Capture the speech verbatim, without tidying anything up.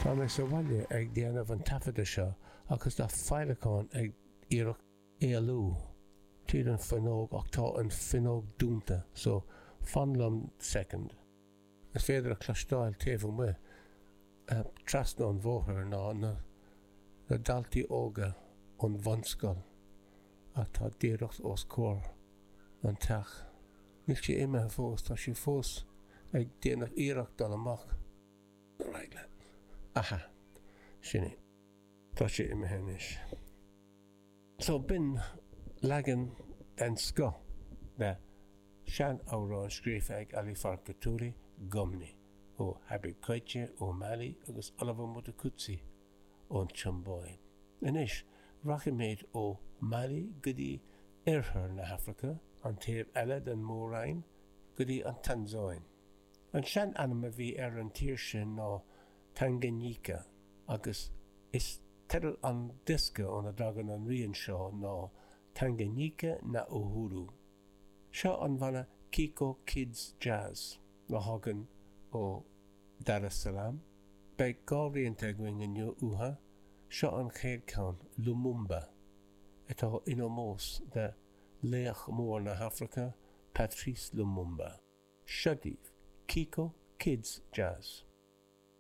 Tá mé sa bhaile ag déanamh an taifeadta seo agus tá féileacán ag iarraidh éalú tríd an fuinneog ach tá an fuinneog dúnta, so fan liom second. Is féidir a chloisteáil taobh amuigh trasna an bhóthair ná na na daltaí óga ón bhunscoil atá díreach os comhair an teach. Níl sé imithe fós, tá sé fós ag déanamh iarracht dul amach. Right leat. Aha, sin é. Tá sé imithe anois. So b'in leagan den scoth de sean-amhrán scríofa ag Ali Farka Touré, Gumni, ó Habib Koité ó Mali agus Oliver Mtukudzi ón tSiombáib. Anois, rachaimid ó Mali go dtí oirthear na hAfraice, an taobh eile den Mhór-Roinn, go dtí an Tansáin. An sean-ainm a bhí ar an tír sin ná Tanganyika agus is teideal an diosca óna dtagann an rian seo ná Tanganyika na Uhuru. Seo an banna Kiko Kids Jazz a thagann ó Dar es Salaam. Beidh dhá rianta againn inniu uathu, seo an chéad ceann, Lumumba, atá in ómós de laoch mór na hAfraice, Patrice Lumumba. Seo daoibh, Kiko Kids Jazz.